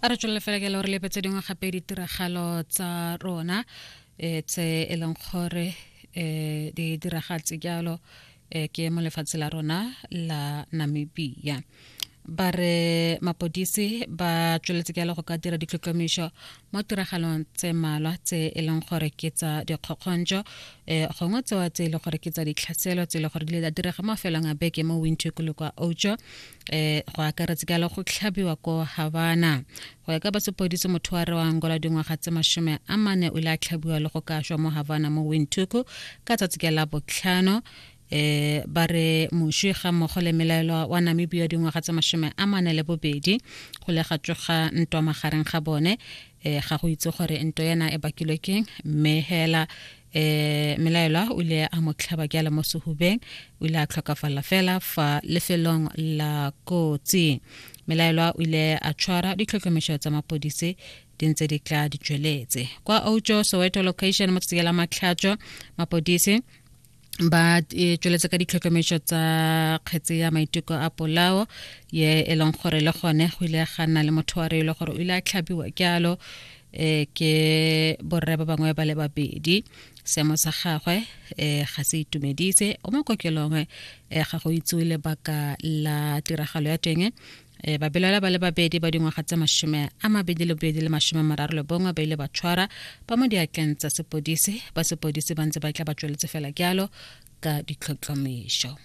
A re tswelele fela ke le gore lepe tse dingwe gape ditiragalo tsa rona um tse e leng gore um di diragatse jalo um ke mo lefatshe la rona la Namibia. Ba re mapodisi ba tsweletse jalo go ka dira ditlhotlhomišo mo tiragalong tse mmalwa tse e leng gore ke tsa dikgokgontšo um gongwe tsewa tse e leng gore ke tsa ditlhaselo tse e leng gore di ile di direga mo mafelong a beke mo Windhoek le kwa Outjo um go akaretse ka le go tlhabiwa ko Havana. Go ya ka ba sepodisi, motho wa re wa Angola dingwaga tse 40 o ile a tlhabiwa le go ka shwa mo Havana mo Windhoek ka tsatsi ke la botlhano. Ba re moswi ga mmogo le melaelwa wa Namibia dingwaga tse 42 go le ga tsoga ntwa magareng ga bone. Ga go itse gore ntwa ena e bakilwe keng, mme hela melaelwa o ile a mo tlhaba ke mo sehubeng, o ile a tlhokafala fela fa lefelong la kotsi. Melaelwa o ile a tshwara, ditlhotlhomišo tsa mapodisi di ntse di tla di tsweletse. Kwa Outjo Soweto location mo tsatsing la Matlhatso, mapodisi ba e tsweletse ka ditlhotlhomišo tsa kgetse ya maiteko a polao ye e leng gore le gone go ile ga nna le motho wa re e le gore o ile a tlhabiwa jalo ke borre ba bangwe ba le babedi. Seemo sa gagwe ga se itumedise, o mo kokelong. Ga go itsewe lebaka la tiragalo ya teng. Babelaelwa ba le babedi ba dingwaga tse 22 le 31 ba ile ba tshwara ba mo diatleng tsa sepodisi. Ba sepodisi ba ntse ba tla ba tsweletse fela jalo ka ditlhotlhomišo.